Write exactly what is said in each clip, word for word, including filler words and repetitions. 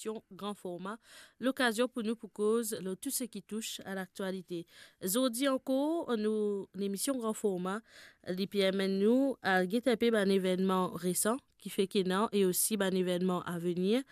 emision Gran Forma, lokazion pou nou pou koz lor tou seki tous a laktialite. Zordi ankor, nou lemision Gran Forma, li pe amenn nou al get inpe bann evennman resan ki fek ena e osi bann evennman avenir.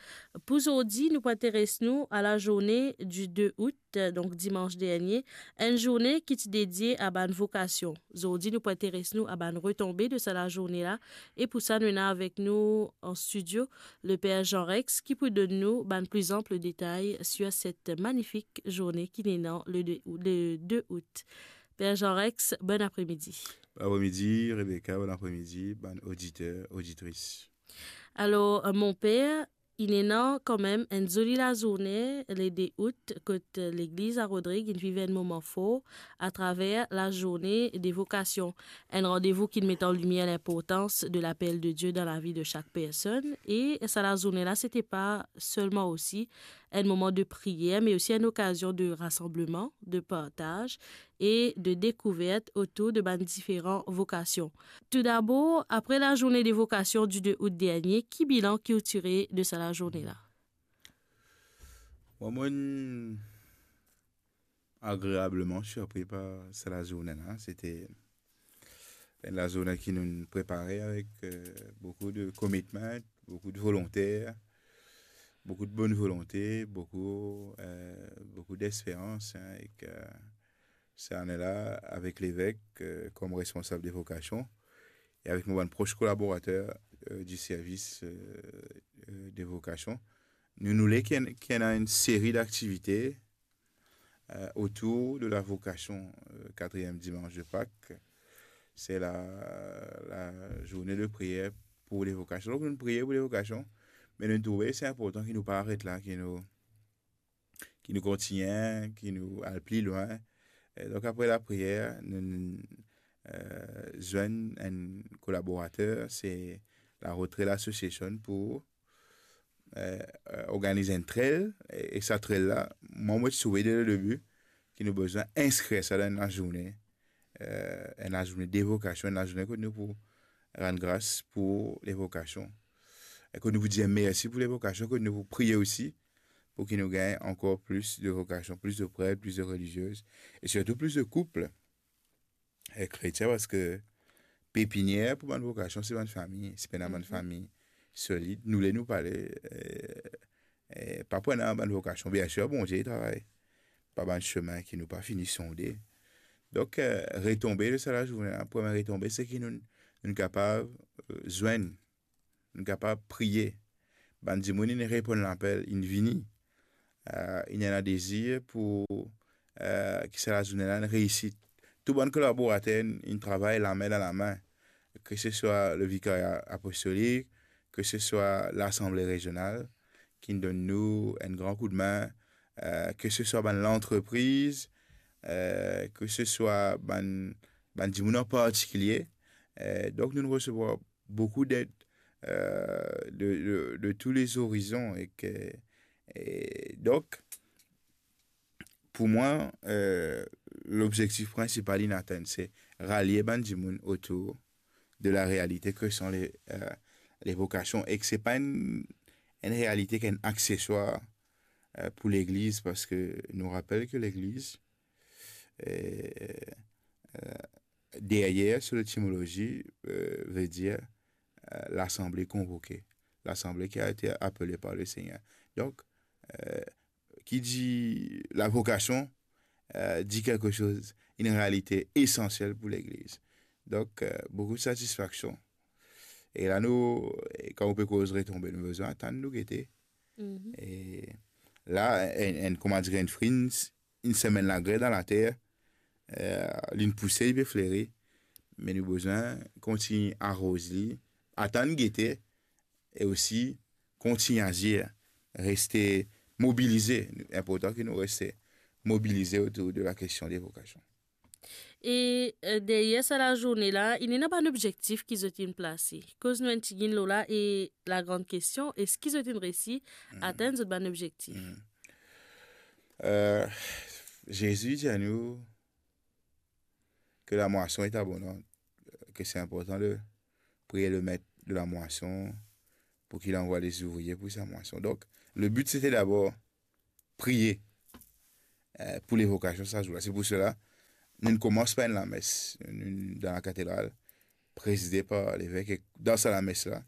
Pou zordi, nou pou interes nou a la zourne di de out, donk dimans dernie, enn zourne ki ti dedie a bann vokasion. Zordi, nou pou interes nou a bann retonbe de sa lazourne la, e pou sa, nou ena avek nou an stidio le Per Jean Rex ki pou donn nou bann pli anp detay sir set manifik zourne ki ena le de, le de out. Per Jean Rex, bon apremidi. Bon apremidi, Rebecca, bon apremidi, bann oditer, oditris. Alor, euh, mon per, inn ena kanmem enn zoli lazourne, le de out, kot, euh, legliz a Rodrig inn viv enn moman for atraver lazourne de vokasion. Enn randevou ki met an limier linportans de lapel de Die dan lavi de sak personn. E sa lazourne la, sete pa selman osi enn moman de priyer, me osi enn okazion de rasanbleman, de partaz e de dekouvert otour de bann diferan vokasion. Toudabor, apre lazourne de vokasion di de out dernie, ki bilan ki ou tire de sa lazourne la? Mwa, mo'nn agreableman sirpri par sa lazourne la. Sete enn lazourne ki nou'nn prepare avek, euh, boukou de commitment, boukou de volonter, boukou de bonn volonte, boukou, euh, boukou desperans, hein, ek, euh, sa ane la, avek levek, euh, kom responsab de vokasion, e avek mo bann pros kolaborater, euh, di servis, euh, euh, de vokasion, nou, nou le ki ena, ki ena enn seri daktivite, euh, otour de la vocation, euh, quatrième dimanche de Pâques. C'est la, la journée de prière pour les vocations. Donk, nou priye pou le vokasion, me nou trouve se inportan ki nou pa aret la, ki nou, ki nou kontigne, ki nou al pli lwin. E donk, apre lapriyer, nou, euh, zwenn enn kolaborater, se la Road Trail Association, pou, euh, euh, organiz enn trail, e, e sa trail la, mwa, mo ti trouve dès le début ki nou bizin inskrir sa dan enn lazourne, euh, enn lazourne de vokasion, enn lazourne kot nou pou rann gras pou le vokasion, e kot nou pou dir mersi pou le vokasion, kot nou pou priye osi pou ki nou gagn ankor plis de vokasion, plis de pret, plis de reliziez, e sirtou plis de koup, e, kretien, parski pepinier pou bann vokasion, se bann fami, si pena bann fami solid, nou le nou pale, e, e, pa pou ena bann vokasion. Biensir, Bondie travay par bann semin ki nou pa fini sonde. Donk, e, retonbe de sa lazourne la, premie retonbe, se ki nou, nou kapav, e, zwenn, nou kapav priye. Bann dimoun, inn reponn lapel, inn vini. E, inn ena dezir pou, e, ki sa lazourne la inn reisit. Tou bann kolaborater inn, inn travay lame dan lame, ke se swa le vikaria apostolik, ke se swa lasanble rezional, ki donn nou enn gran koudmin, e, ke se swa bann lantrepriz, e, ke se swa bann, bann dimoun an partikilie. E, donk, nou resevwar boukou ded, e, de, de, de tou le zorizon, e ke, e, donk, pou mwa, e, lobzektif prinsipal inn atenn, se ralie bann dimoun otour de la realite ke son le, e, le vokasion, e ke se pa enn, enn realite ki enn akseswar, e, pou legliz, parski nou rapel ke legliz, e, e, deryer, so letimolozi, e, ve dir, e, lasanble konvoke, lasanble ki a ete apele par le Segner. Donk, e, ki dir la vocation, euh, dit quelque chose, une réalité essentielle pour l'Église. Donk, euh, boukou satisfaksion. E la nou, e kan ou pe koz retonbe, nou bizin atann, nou gete. Mhm. E la, enn, enn, kouma dir, enn fri, enn semenn lagre dan later, euh, li'nn pouse, li pe fleri, me nou bizin kontign aroz li, atann, gete, e osi kontign azir, reste mobilize. Inportan ki nou reste mobilize otour de la kestion de vokasion. E, euh, deryer sa lazourne la, inn ena bann obzektif ki zot inn plase. Koz nou enn tigit lor la e la gran kestion, eski zot inn resi atenn zot bann obzektif? Hmm. Euh, Zezi dir anou, que la moisson est abondante, que c'est important de prier le maître de la moisson pour qu'il envoie les ouvriers pour sa moisson. Donk, Le but, c'était d'abord priye, euh, pou levokasion sa zour la. Se pou sela, nou komans par enn lames, nou, dan lakatedral, prezide par leveque. Dan sa lames la,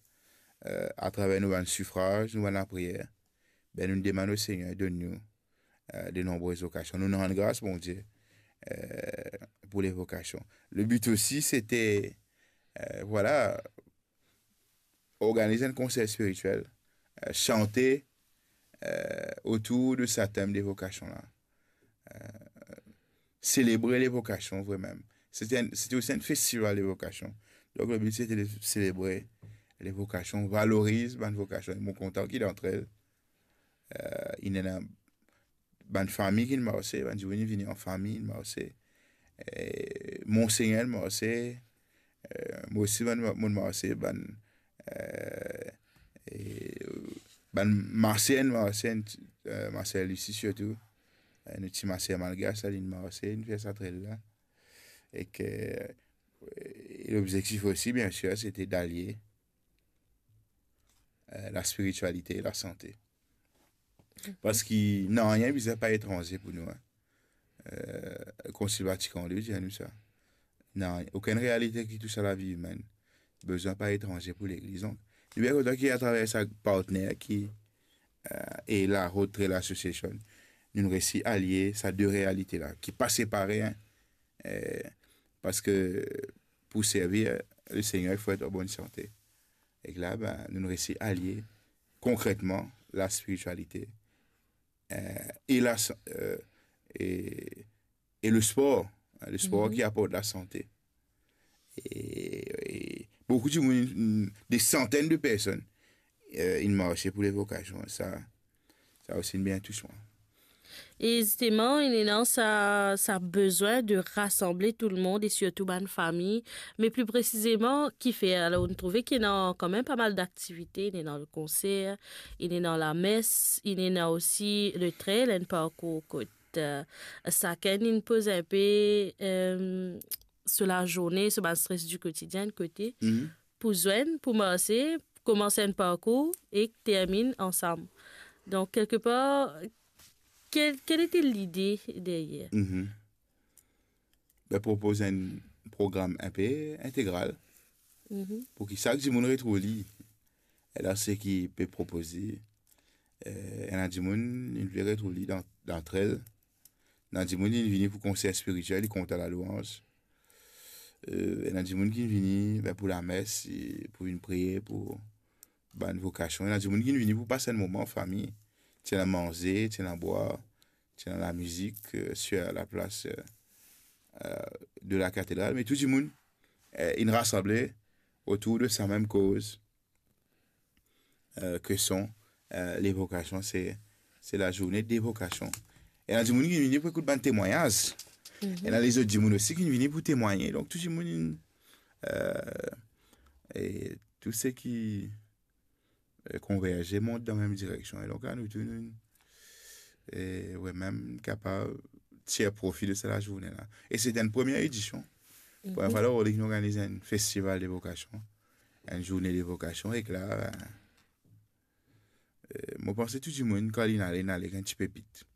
euh, atraver nou bann sifraz, nou bann lapriyer, be, nou demann Lesegner donn nou, euh, de nonbrez vokasion. Nou rann gras Bondie, euh, pou levokasion. Le but aussi, c'était, euh, voilà, organize enn konser spiritiel, euh, sante, euh, otour de sa tem de vokasion la. Euh, selebre levokasion vremem. C'était un, c'était aussi un festival de vocation. Donc, le but, c'était de célébrer les vocations, valorize bann vokasion. Mo kontan ki dan el, euh, inn ena bann fami ki marse, bann dimoun vini an fami, marse. Eh, Monsegner marse, eh, mo osi bann, mo marse, bann, eh, eh, bann maser marse, eh, maser Lucie sirtou. Eh, nou ti maser malgre sa, li marse, nou fer sa trel la. Ek, eh, lobzektif osi, bien sûr, c'était d'allier, eh, la spiritualité et la santé. Parski nanye bizin pa etranze pou nou, hein. Euh, Konsil Vatikan de dir nou sa. Nanye, okenn realite ki tous a lavi imenn bizin pa etranze pou Legliz. Donk, nou bien kontan ki atraver sa partner ki, euh, e la Rotary Association, nou resi alie sa de realite la, ki pa separe, hein. Euh, parski pou servi Lesegner, il faut être en bonne santé. Ek la, ben, nou resi alie konkretman la spiritualité, euh, e la sa-, euh, e, e le spor, hein, le spor ki aport la sante. E, e boukou dimoun, de santenn de personn, euh, inn marse pou levokasion. Sa, sa osi inn bien tous mwa. E zisteman, inn ena sa, sa bizin de rasanble tou lemonn e sirtou bann fami. Me pli presizeman, kifer? Alor, nou trouve ki ena kanmem pa mal daktivite, inn ena le konser, inn ena lames, inn ena osi le trel, enn parkour kot, euh, sakenn inn poz inpe, euh, so lazourne, so bann stres di kotidien kote, pou zwenn, pou marse, koumans enn parkour e terminn ansam. Donk, kelkepar, kel, kel ete lide deryer? Mhm. Ben, propoz enn program inpe integral pou ki sak dimoun retrouv li. E la, seki pe propoze, eh, ena dimoun, inn vle retrouv li dan, dan trel. Ena dimoun, inn vini pou konser spiritiel, li kontan lalouanz. Eh, ena dimoun ki vini, ben, pou lames, e pou vinn priye, pou bann vokasion. Ena dimoun ki vini pou pas enn moman an fami. Ti ena manze, ti ena bwar, ti ena lamizik, euh, sur la place, euh, euh, de la cathédrale. Me tou dimoun, euh, inn rasanble otour de sa mem koz, euh, ke son, euh, levokasion, se, se lazourne de vokasion. Ena dimoun ki vini pou ekout bann temwagnaz. Ena lezot dimoun osi ki vini pou temwagne. Donk, tou dimoun, euh, e tou seki, euh, konverze, mont dan mem direksion. E donk, la, nou tou, nou, e, wi, mem kapav tir profi de sa lazourne la. E se enn premie edision. Premie fwa, la, nou organiz enn festival de vokasion, enn zourne de vokasion, ek la, ben, euh, mo panse tou dimoun, kan linn ale, linn ale enn ti pepit.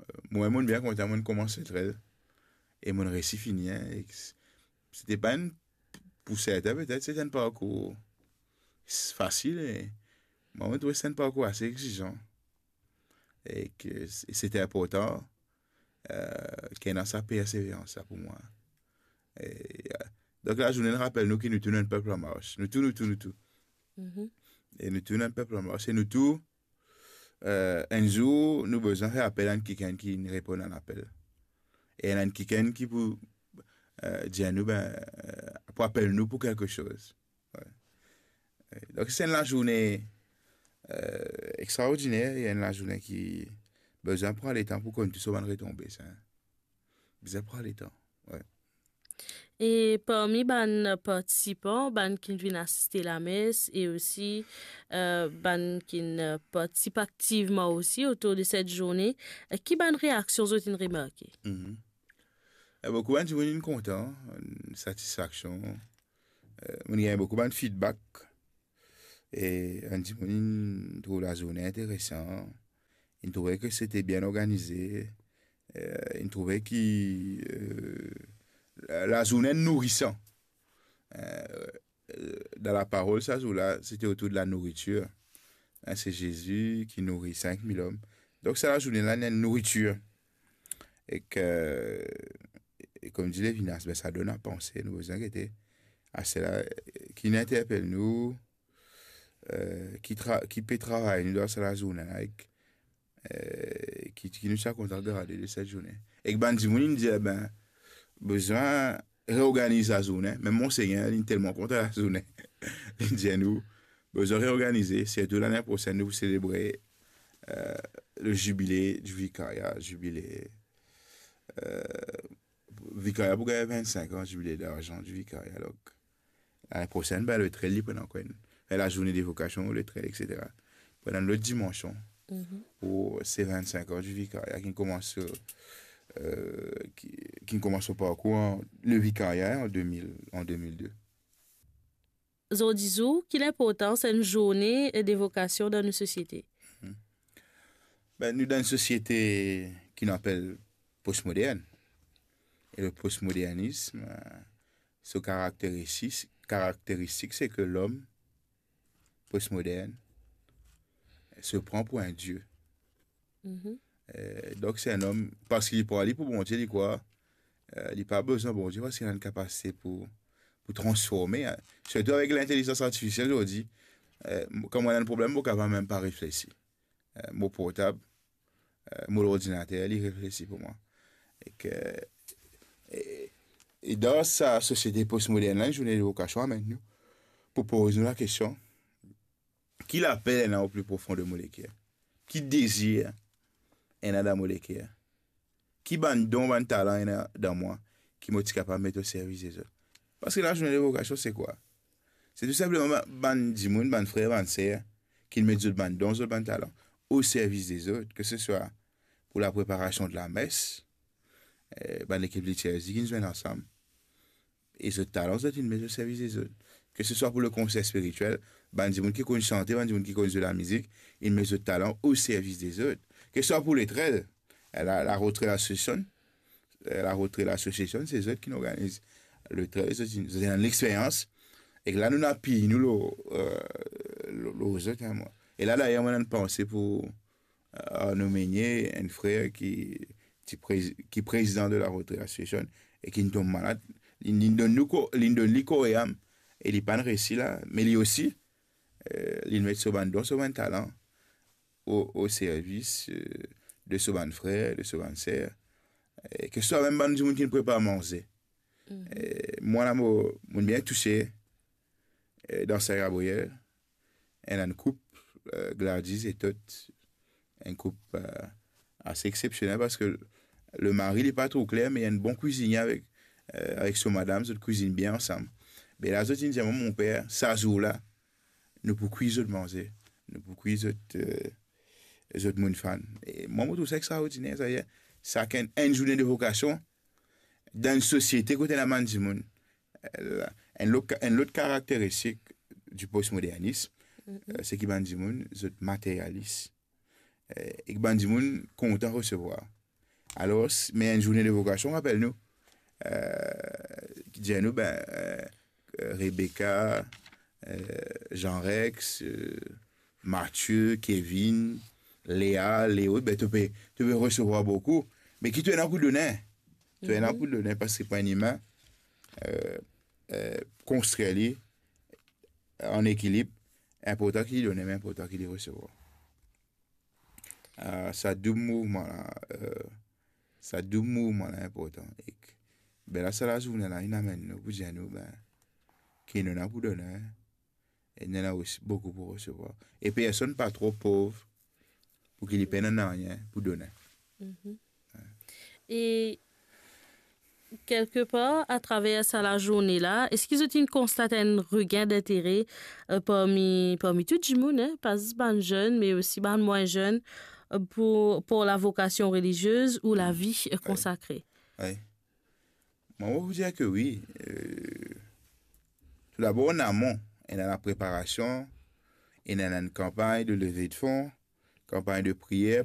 Euh, mwa, mo bien kontan, mo koumans trel, e mo resi fini, hein, e s-, sete pa enn, pou sertin, petet, sete enn parkour s-, fasil, e mwa, mo trouve se enn parkour ase egzizan. E ke s-, sete inportan, euh, ki ena sa perseverans la pou mwa. E, euh, donk, lazourne rapel nou ki nou tou nou enn pep an mars. Nou tou, nou tou, nou tou. E nou tou nou enn pep an mars. E nou tou, euh, enn zour, nou bizin fer apel a enn kikenn ki reponn a lapel. E enn kikenn ki pou, euh, dir nou, ben, euh, pou apel nou pou kelke soz. Wi. E donk, se enn lazourne, euh, extraordiner, e enn lazourne ki bizin pran letan pou konn tou so bann retonbe, sa. Bizin pran letan, wi. E parmi bann partisipan, bann ki vinn asiste lames e osi, euh, bann ki, euh, partisip aktivman osi otour de set zourne, euh, ki bann reaksion zot inn remarke? Mhm. E boukou bann dimoun inn kontan, satisfaksion. Euh, mo gagn boukou bann feedback. E bann dimoun inn trouv lazourne interesan, inn trouve ki sete bien organize, eh, inn trouve ki, eh, la, lazourne nourisan. Eh, eh, dan laparol sa zour la, sete otour de la nouritir. Hein, se Zezi ki nouri sink mil om. Donk sa lazourne la, ena nouritir. Ek, e kouma dir Levinas, be, sa donn a panse, nou bizin gete a sela, eh, ki inn interpel nou, eh, ki tra-, ki pe travay nou dan sa lazourne la, ek, eh, ki, ki nou ti a kontan garde de set zourne. Ek bann dimoun inn dir, be, bizin reorganiz lazourne. Mem Monsegner, li telman kontan lazourne. Li dir nou, bizin reorganize, sirtou lane prosenn, nou pou selebre, eh, le zibile di vikaria, zibile, eh, vikaria pou gagn vennsenk an, zibile darzan di vikaria. Donk, lane prosenn, be, le trel, li pran ankor enn, lazourne de vokasion, le trel, et cetera. Pran enn lot dimansion pou se vennsenk an di vikaria ki koumans, eh, ki, ki koumans so parkour an, le vikaria an de mil, an de mil de. Zordi zour, ki linportans enn zourne de vokasion dan nou sosiete? Be, nou dan enn sosiete ki nou apel postmodern. E le postmodernisme, eh, so karakteristik, karakteristik, se ke lom postmodern se pran pou enn die. Eh, donk, se enn om, parski li pran li pou Bondie, li krwar, eh, li pa bizin Bondie parski li ena enn kapasite pou, pou transforme, hein. Sirtou avek lintelizans artifisiel zordi, eh, mo, kan mo ena enn problem, mo kapav mem pa reflesi. Eh, mo portab, eh, mo lordinater, li reflesi pou mwa. Ek, e, e dan sa sosiete postmodern la, enn zourne de vokasion amenn nou pou poz nou lakestion, ki lapel ena o pli profon de mo leker? Ki dezir ena dan mo leker? Ki bann don, bann talan ena dan mwa ki mo ti kapav met o servis dezot? Parski lazourne de vokasion, se kwa? Se tou sinpleman ba-, bann dimoun, bann frer, bann ser, ki met zot bann don, zot bann talan o servis dezot, ke se swa pou lapreparasion de lames, eh, bann lekip litirzi ki zwenn ansam, e zot talan, zot inn met o servis dezot. Ke se swa pou le konser spiritiel, bann dimoun ki konn sante, bann dimoun ki konn zwe lamizik, inn met zot talan o servis dezot. Ke se swa pou letrel, la, la Rentrée Association, eh, la Rentrée Association, se zot ki organiz letrel, zot inn, zot ena lexperyans. Ek la, nou inn apiy nou lor, eh, lor, lor zot, hein, mwa. E la, dayer, mo ena enn panse pou, eh, nou menie enn frer ki, ti prez-, ki prezidan de la Rentrée Association e ki inn tom malad. Li, li donn nou ko-, li donn li kor e am. E li pa'nn resi la, me li osi, eh, li met so bann don, so bann talan o, o servis, eh, de so bann frer, de so bann ser. Eh, ke se swa mem bann dimoun ki inn prepar manze. Eh, mwa la, mo, mo bien touse, eh, dan Saint-Gabriel, ena enn koup, eh, Gladys e Tot, enn koup, eh, ase exsepsionel, parski lemari, li pa tro kler, me li enn bon kwizinie avek, eh, avek so madam, zot kwizinn bien ansam. Be la, zot inn dir mwa, "Mon per, sa zour la, nou pou kwi zot manze, nou pou kwi zot, eh, zot moun fann." E mwa, mo trouv sa extraordiner, sa, sakenn enn zourne de vokasion dan enn sosiete kot ena bann dimoun, eh, enn lot, enn lot karakteristik di postmodernism, eh, se ki bann dimoun, zot materialis. Eh, ek bann dimoun kontan resevwar. Alor, s-, me enn zourne de vokasion, rapel nou, eh, ki dir nou, be, eh, Rebecca, eh, Jean Rex, eh, Mathieu, Kevin, Léa, Léo, be, to pe, to pe resevwar boukou. Me ki to ena pou done? To ena pou done, parski pou enn imin, eh, eh, konstrir li an ekilib, inportan ki li done, me inportan ki li resevwar. Ah, sa doub mouvman la, eh, sa doub mouvman la inportan. Ek, be la, sa lazourne la, inn amenn nou pou dir nou, be, ki nou ena pou done, e nou ena osi boukou pou resevwar. E personn pa tro pov pou ki li pena nanye pou done. E kelkepar, atraver sa lazourne la, eski zot inn konstat enn regin dintere, eh, parmi, parmi tou dimoun, hein, pa zis bann zenn, me osi bann mwin zenn, eh, pou, pou lavokasion reliziez ou lavi, eh, konsakre? Wi. Mwa, mo pou dir ke wi. Eh, toudabor, an amon, ena lapreparasion, ena enn kanpagn de leve de fon, kanpagn de priyer